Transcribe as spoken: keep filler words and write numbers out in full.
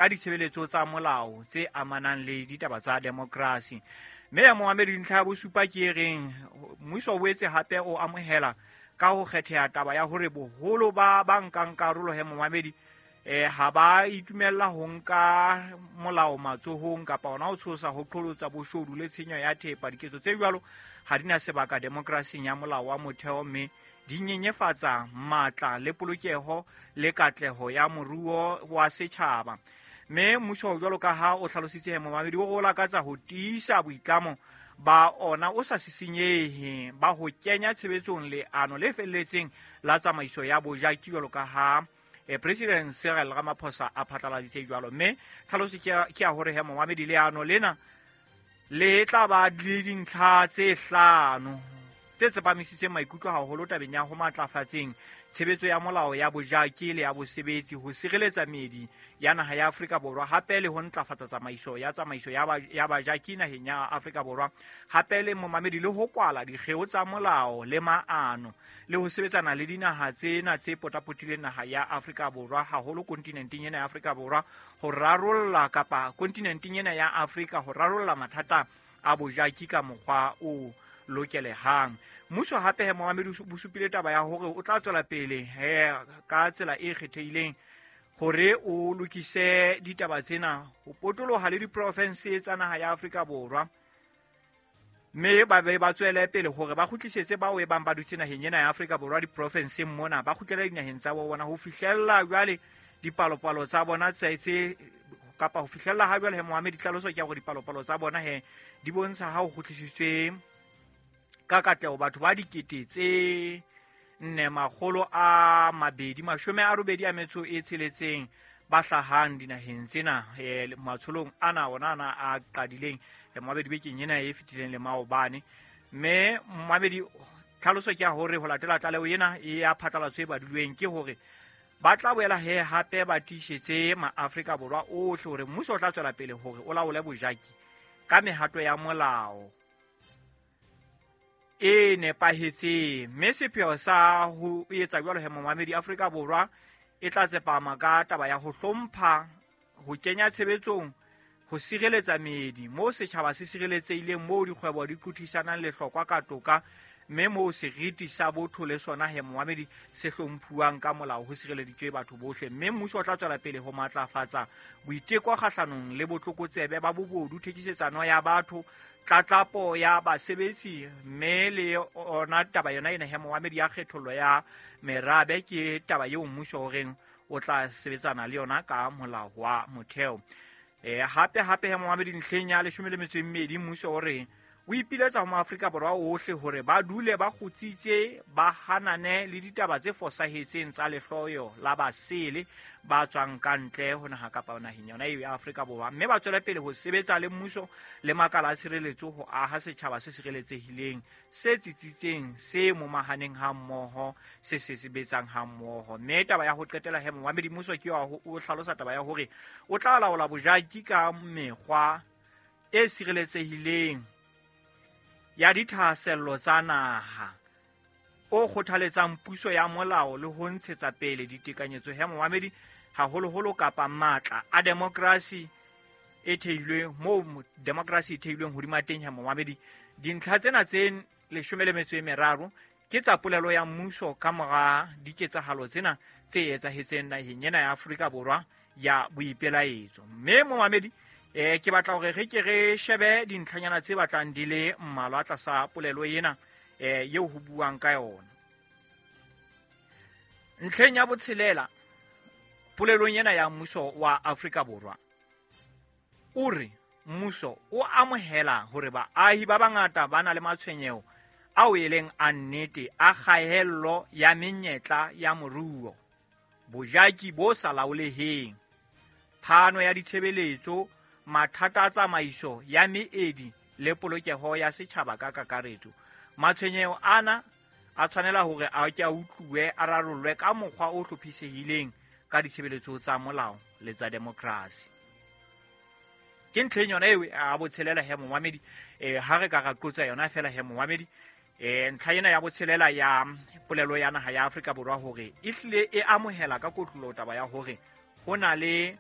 Ka ditshebeletso tsa molao tse amanang le ditaba tsa demokrasi. Mme ya momamedi, ntlha ya bosupa ke e reng mmuso o boetse hape o amohela ka ho kgetheha taba ya hore boholo ba ba nkang karolo he momamedi eh ha ba itumella ho nka molao matsohong kapa ona ho tshosa ho qholotsa boshodu le tshenyo ya thepa. Diketso tse jwalo ha di na sebaka demokrasing ya molao wa motheo, mme di nyenyefatsa matla le polokeho le katleho ya moruo wa setjhaba. Mme mmuso jwalo ka ha o hlalositse he momamedi, o re o lakatsa ho tiisa boitlamo ba ona o sa sisinyehe ba ho kenya tshebetsong leano le felletseng la tsamaiso ya bojaki jwalo ka ha eh, President Cyril Ramaphosa a phatlaladitse jwalo. Mme tlhaloso ke ya- ke ya hore he momamedi, leano lena le tla ba le dintlha tse hlano tse tsepamisitseng maikutlo haholo tabeng ya ho matlafatseng tshebetso ya molao ya bojaki le ya bosebetsi, ho sireletsa meedi ya naha ya Afrika Borwa, hape le ho ntlafatsa tsamaiso ya tsamaiso ya ba- ya bajaki naheng ya Afrika Borwa, hape le momamedi le ho kwala dikgeo tsa molao le maano, le ho sebetsana le dinaha tsena tse potapotileng naha ya Afrika Borwa, haholo kontinenteng ena ya Afrika Borwa, ho rarolla kapa kontinenteng ena ya Afrika ho rarolla mathata a bojaki ka mokgwa o lokelehang. Mmuso hape he momamedi o supile taba ya hore o tla tswela pele he ka tsela e kgethehileng hore o lokise ditaba tsena ho potoloha le diprofinse tsa naha ya Afrika Borwa, mme ba be ba tswele pele hore ba kgutlisetse bao e bang ba dutse naheng ena ya Afrika Borwa diprofenseng mona, ba kgutlele dinaheng tsa bo bona ho fihlella jwale dipalopalo tsa bona tse tse kapa ho fihlella ha jwale he momamedi, tlhaloso ke ya hore dipalopalo tsa bona he di bontsha ha ho kgutlisitswe ka katleho batho ba dikete tse nne makgolo a mabedi mashome a robedi a metso e tsheletseng ba hlahang dinaheng tsena eh, matsholong ana ona ana a qadileng eh, momamedi bekeng ena e fetileng le maobane. Mme momamedi, tlhaloso ke ya hore ho latela tlaleho ena e ya phatlalatso e badilweng ke hore ba tla boela he hape ba tiisetse maAfrika Borwa ohle hore mmuso o tla tswela pele hore o laole bojaki ka mehato ya molao e nepahetseng. Mme sepheo sa ho etsa jwalo he momamedi, Afrika Borwa e tla tsepama ka taba ya ho hlompha, ho kenya tshebetsong, ho sireletsa meedi moo setjhaba se sireletsehileng, moo dikgwebo di qothisanang lehlokwa ka toka, mme moo seriti sa botho le sona he momamedi se hlomphuwang ka molao, ho sireleditswe batho bohle. Mme mmuso o tla tswela pele ho matlafatsa boiteko kgahlanong le botlokotsebe ba bobodu, thekisetsano ya batho, tlatlapo ya basebetsi, mme le ona taba yona ena he momamedi ya kgethollo ya merabe ke taba eo mmuso o reng o tla sebetsana le yona ka molao wa motheo. Eh, hape hape he momamedi, ntlheng ya leshome le metso e mmedi, mmuso o re o ipiletsa ho maAfrika Borwa ohle hore ba dule ba kgutsitse, ba hanane le ditaba tse fosahetseng tsa lehloyo la basele ba tswang ka ntle ho naha kapa naheng yona eo ya Afrika Borwa, mme ba tswele pele ho sebetsa le mmuso le makala a tshireletso ho aha setjhaba se sireletsehileng, se tsitsitseng, se momahaneng ha mmoho, se se sebetsang ha mmoho. Mme taba ya ho qetela he momamedi, mmuso ke wa ho o hlalosa taba ya hore o tla laola bojaki ka mekgwa e sireletsehileng ya dithahasello tsa naha, o kgothaletsang puso ya molao le ho ntshetsa pele ditekanyetso he momamedi, haholoholo kapa matla a demokrasi e theilweng moo mo-, demokrasi e theilweng hodima teng he momamedi. Dintlha tsena tse leshome le metso e meraro ke tsa polelo ya mmuso ka mora diketsahalo tsena tse etsahetseng naheng ena ya Afrika Borwa ya boipelaetso. Mme momamedi, eh, ke batla hore re ke re shebe dintlhanyana tse batlang di le mmalwa tlasa polelo ena, eh, eo ho buang ka yona. Ntlheng ya botshelela polelong ena ya mmuso wa Afrika Borwa, o re mmuso o amohela hore baahi ba bangata ba na le matshwenyeho ao e leng a nnete a kgaello ya menyetla ya moruo, bojaki bo sa laoleheng, phano ya ditshebeletso, mathata a tsamaiso ya meedi le polokeho ya setjhaba ka kakaretso. Matshwenyeho ana a tshwanela hore a ke a utluwe, a rarollwe ka mokgwa o hlophisehileng ka ditshebeletso tsa molao le tsa demokrasi. Ke ntlheng yona eo a botshelela he momamedi, eh, ha re ka ra qotsa yona fela he momamedi, eh, ntlha ena ya botshelela ya polelo ya naha ya Afrika Borwa hore e hlile e amohela ka kotloloho taba ya hore ho na le